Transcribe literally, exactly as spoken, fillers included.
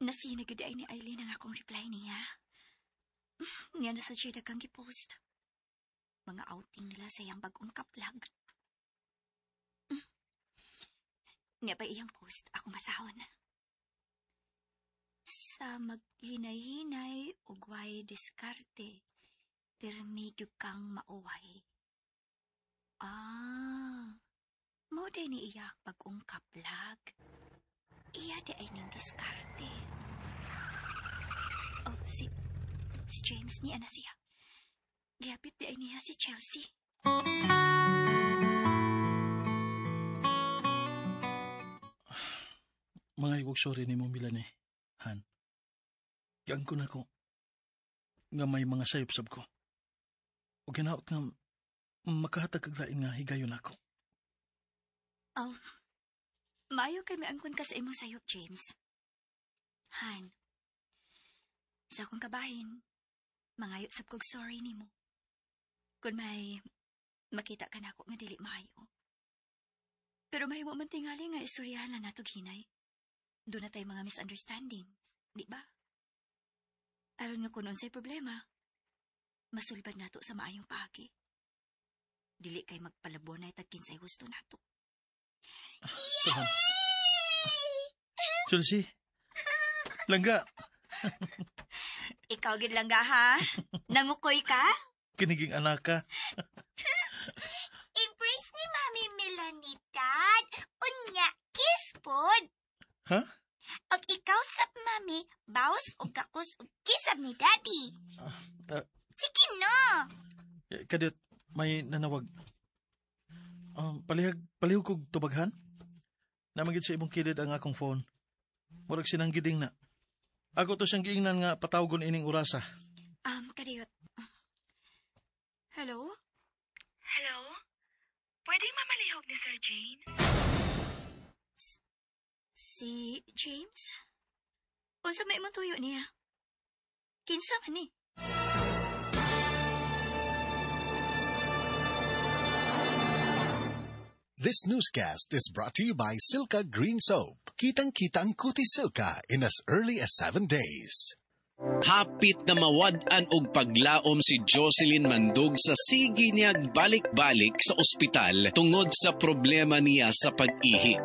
Na-seen na gyud ay ni Eileen ang akong reply niya. Niya na sa siya kang gipost. Mga outing nila sa iyang bagong kaplag. Mm. Niya pa iyang post, ako masahon. Sa maghinay-hinay ug way diskarte, pirmi gyud kang mauway. Ah, mao diay ni iya ang bagong kaplag. Iya diay ning diskarte. Oh, si si James niya na siya. Gihapit diay niya si Chelsea. Mga igog sorry ni mo Melanie, Han. Giangkon ako nga may mga sayop sab ko. O ginaot nga makahatag kag lain nga higayon ako. Oh, maayo kay miangkon ka sa imong sayop, James. Han, sa akong kabahin, mangayo sab kog sorry nimo. Kung may makita ka nako nga dili maayo. Pero mahimo man tingali nga istoryahan na natog hinay. Doon na tayo mga misunderstandings, di ba? Aron nga kung unsay problema, masulbad nato sa maayong paagi. Dili kay magpalabonay tag kinsay gusto nato. Sahan. Chelsea. Langga, Ikaw gid lang ga ha? Nangukoy ka? kiniging anak ka. Embrace ni Mami Melanie, Dad. Unya, kiss pod. Ha? Og ikaw sab, Mami, bawas og gakus og kiss sab ni Daddy. Ah, Sige no. Eh, Kadiyot, may nanawag. Um, palihag, palihog kog tubaghan? Namagid sa imong kilid ang akong phone. Murag sinanggiding na. Ako to siyang giingnan nga patawgon ining orasa. Um, kadiyot. Hello? Hello? Pwedeng mamalihog ni Sir Jane? Si James? Unsa may imong tuyo niya? Kinsa man ni? This newscast is brought to you by Silka Green Soap. Kitang-kita ang kutis Silka in as early as seven days. Hapit na mawad-an og paglaom si Jocelyn Mandog sa sige niyag balik-balik sa ospital tungod sa problema niya sa pag-ihi.